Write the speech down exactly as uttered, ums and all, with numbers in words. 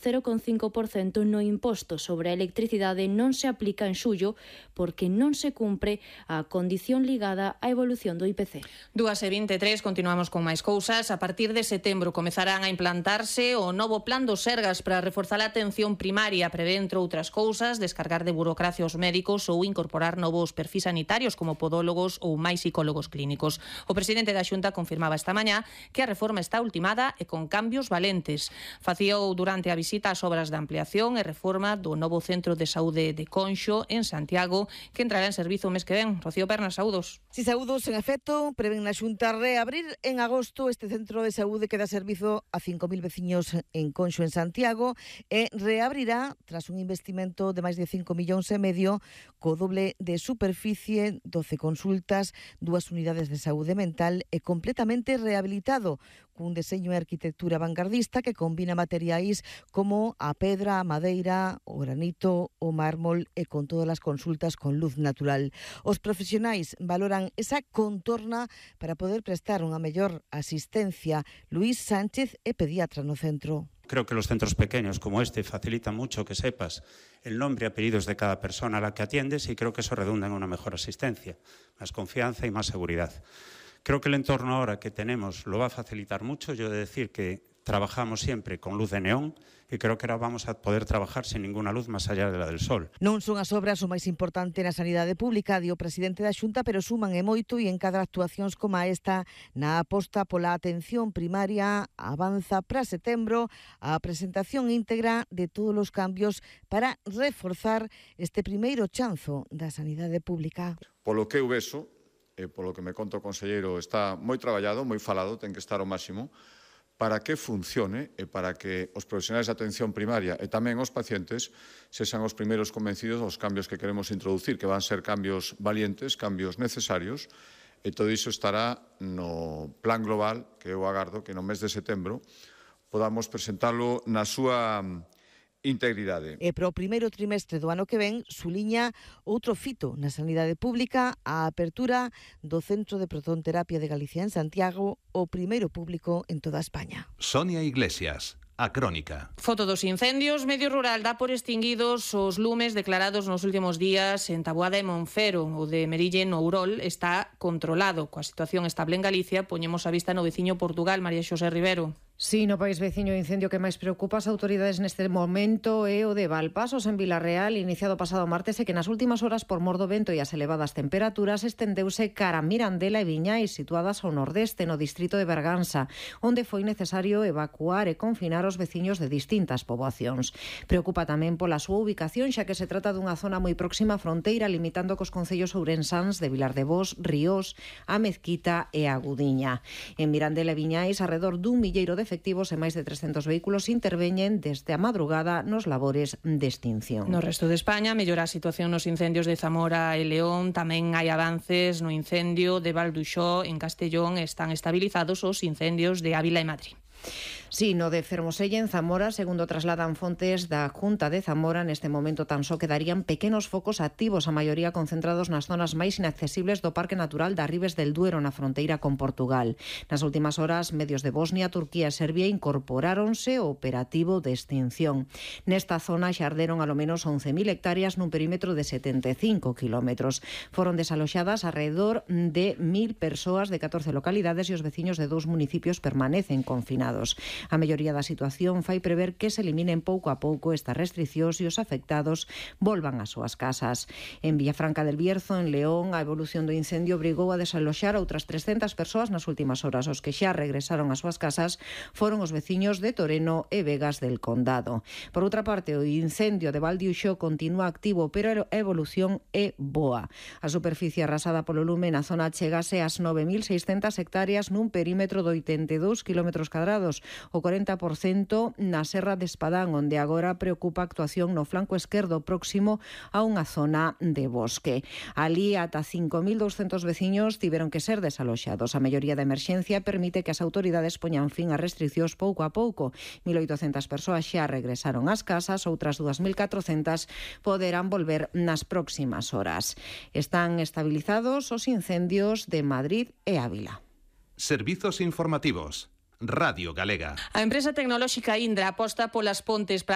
cero coma cinco por cento no imposto sobre a electricidade non se aplica en xullo porque non se cumpre a condición ligada á evolución do I P C. dúas e vinte e tres, continuamos con máis cousas. A partir de setembro comezarán a implantarse o novo plan do Sergas para reforzar a atención primaria, prevé, entre outras cousas, descargar de burocracia os médicos ou incorporar novos perfis sanitarios como podólogos ou máis psicólogos clínicos. O presidente da Xunta confirmaba esta mañá que a reforma está ultimada e con cambios valentes. Facíao durante a visita visita as obras de ampliación e reforma do novo centro de saúde de Conxo en Santiago, que entrará en servizo o mes que ven. Rocío Pernas, saúdos. Si saúdos, en efecto, prevén na Xunta reabrir en agosto este centro de saúde que dá servizo a cinco mil veciños en Conxo, en Santiago, e reabrirá tras un investimento de máis de cinco millóns e medio, co doble de superficie, doce consultas, dúas unidades de saúde mental e completamente rehabilitado, cun deseño e arquitectura vanguardista que combina materiais como a pedra, a madeira, o granito, o mármol e con todas as consultas con luz natural. Os profesionais valoran esa contorna para poder prestar unha mellor asistencia. Luís Sánchez é pediatra no centro. Creo que los centros pequeños como este facilitan mucho que sepas el nombre y apellidos de cada persona a la que atiendes y creo que eso redunda en una mejor asistencia, más confianza y más seguridad. Creo que el entorno ahora que tenemos lo va a facilitar mucho. Yo he de decir que trabajamos siempre con luz de neón e creo que ahora vamos a poder trabajar sin ninguna luz máis allá de la del sol. Non son as obras o máis importante na sanidade pública, di o presidente da Xunta, pero suman e moito e en cada actuacións como esta na aposta pola atención primaria avanza para setembro a presentación íntegra de todos os cambios para reforzar este primeiro chanzo da sanidade pública. Polo que eu vexo, e polo que me conta o conselleiro, está moi traballado, moi falado, ten que estar ao máximo, para que funcione e para que os profesionais de atención primaria e tamén os pacientes sexan os primeiros convencidos dos cambios que queremos introducir, que van ser cambios valientes, cambios necesarios, e todo iso estará no plan global que eu agardo que no mes de setembro podamos presentalo na súa integridade. E para o primeiro trimestre do ano que ven, suliña outro fito na sanidade pública, a apertura do Centro de Protonterapia de Galicia en Santiago, o primeiro público en toda España. Sonia Iglesias. A Crónica. Foto dos incendios. Medio Rural dá por extinguidos os lumes declarados nos últimos días en Taboada e Monfero. O de Merille no Ourol está controlado. Coa situación estable en Galicia, poñemos a vista no veciño Portugal. María Xosé Rivero. Sí, no país veciño o incendio que máis preocupa as autoridades neste momento é o de Valpasos, en Vilarreal, iniciado pasado martes e que nas últimas horas, por mor do vento e as elevadas temperaturas, estendeuse cara a Mirandela e Viñais, situadas ao nordeste, no distrito de Berganza, onde foi necesario evacuar e confinar os veciños de distintas poboacións. Preocupa tamén pola súa ubicación, xa que se trata dunha zona moi próxima á fronteira, limitando cos concellos ourensáns de Vilar de Bos, Ríos, a Mezquita e a Gudiña. En Mirandela e Viñais, arredor dun milleiro de efectivos e máis de trescentos vehículos interveñen desde a madrugada nos labores de extinción. No resto de España mellora a situación nos incendios de Zamora e León. Tamén hai avances no incendio de Valduxó en Castellón. Están estabilizados os incendios de Ávila e Madrid. Sí, no de Fermoselle, en Zamora, segundo trasladan fontes da Junta de Zamora, neste momento tan só quedarían pequenos focos activos, a maioría concentrados nas zonas máis inaccesibles do Parque Natural da Ribes del Duero, na fronteira con Portugal. Nas últimas horas, medios de Bosnia, Turquía e Serbia incorporáronse ao operativo de extinción. Nesta zona xa arderon alo menos once mil hectáreas nun perímetro de setenta e cinco kilómetros. Foron desaloxadas alrededor de mil persoas de catorce localidades e os veciños de dous municipios permanecen confinados. A melloría da situación fai prever que se eliminen pouco a pouco estas restriccións e os afectados volvan ás súas casas. En Villafranca del Bierzo, en León, a evolución do incendio obrigou a desaloxar outras trescentas persoas nas últimas horas. Os que xa regresaron ás súas casas foron os veciños de Toreno e Vegas del Condado. Por outra parte, o incendio de Valdiuxó continúa activo, pero a evolución é boa. A superficie arrasada polo lume na zona chegase ás nove mil seiscentas hectáreas nun perímetro de oitenta e dous kilómetros cadrados, o corenta por cento na Serra de Espadán, onde agora preocupa a actuación no flanco esquerdo próximo a unha zona de bosque. Ali, ata cinco mil douscentos veciños tiveron que ser desaloxados. A melloría da emerxencia permite que as autoridades poñan fin ás restriccións pouco a pouco. mil oitocentas persoas xa regresaron ás casas, outras dúas mil catrocentas poderán volver nas próximas horas. Están estabilizados os incendios de Madrid e Ávila. Servizos informativos. Radio Galega. A empresa tecnolóxica Indra aposta polas pontes para